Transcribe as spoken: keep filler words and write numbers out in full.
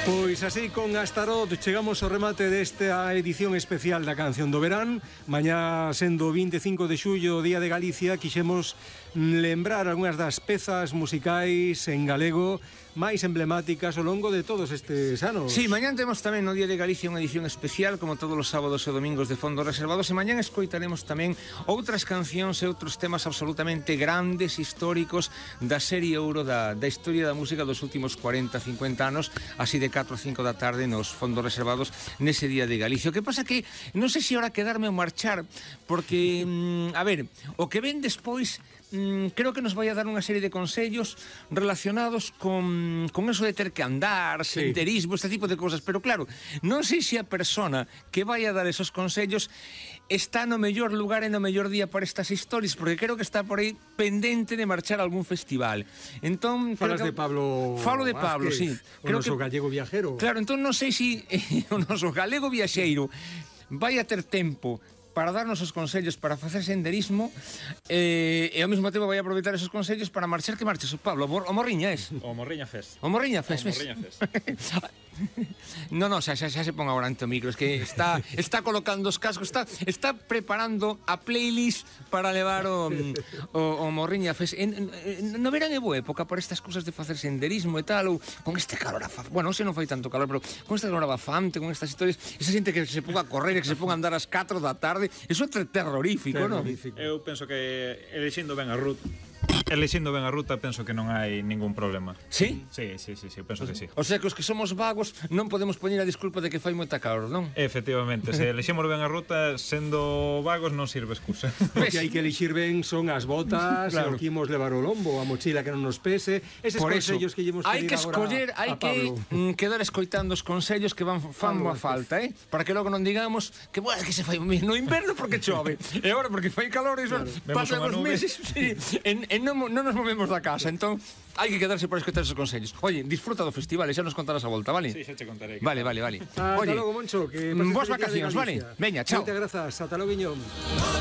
Pois así, con Astarot, chegamos ao remate desta edición especial da Canción do Verán. Mañá, sendo vinte e cinco de xullo, Día de Galicia, quixemos lembrar algunhas das pezas musicais en galego máis emblemáticas ao longo de todos estes anos. Sí, mañán temos tamén no Día de Galicia unha edición especial, como todos os sábados e domingos de Fondos Reservados, e mañán escoitaremos tamén outras cancións e outros temas absolutamente grandes, históricos, da serie ouro da, da historia da música dos últimos cuarenta, cincuenta anos, así de catro a cinco da tarde nos Fondos Reservados nese Día de Galicia. O que pasa que non sei se ahora quedarme ou marchar, porque, mm, a ver, o que ven despois mm, creo que nos vai a dar unha serie de consellos relacionados con, con eso de ter que andar, sí, senderismo, este tipo de cousas, pero claro, non sei se a persona que vai a dar esos consellos está no mellor lugar e no mellor día para estas historias, porque creo que está por aí pendente de marchar a algún festival. Entón, falas que... de Pablo Falo de Pablo, Vázquez, sí. O Creo noso que... gallego viajero. Claro, entón non sei se o noso galego viaxeiro vai a ter tempo para darnos os consellos para facer senderismo eh, e ao mesmo tempo vai aproveitar esos consellos para marchar. Que marches, Pablo? O Morriña es? O Morriña Fest. O Morriña Fest. O Morriña Fest. No, no, xa, xa, xa se pon agora ante o micro. Es que está, está colocando os cascos, está, está preparando a playlist para levar o, o, o Morriña Fest. En, en, no verán é boa época para estas cousas de facer senderismo e tal, ou con este calor afante. Bueno, non sei, non fai tanto calor, pero con este calor afante, con estas historias, esa xente que se ponga a correr e que se ponga a andar ás catro da tarde, eso é terrorífico, non? Eu penso que elixindo ben a ruta Elixindo ben a ruta, penso que non hai ningún problema. Sí? Sí, sí, sí, sí, penso que sí. O sea, que os que somos vagos non podemos poñer a disculpa de que fai moita calor, non? Efectivamente, se eliximos ben a ruta, sendo vagos non sirve excusa. O que hai que elixir ben son as botas, claro, o que imos levar o lombo, a mochila que non nos pese, eses por eso, consellos que llevamos hai que escoller, hai que mm, quedar escoitando os consellos que van fan boa falta, eh? Para que logo non digamos que, bueno, que se fai no inverno porque chove, e agora porque fai calor, e claro, pasan os meses, sí, en, en non, non nos movemos da casa, entón hai que quedarse para escoitar esos consellos. Oye, disfruta do festival e xa nos contarás a volta, vale? Sí, xa te contaré. Vale, Vale, vale, vale. Ata logo, Moncho, que boas vacacións, vale? Veña, chao. Moitas grazas, ata logo, Guiñón.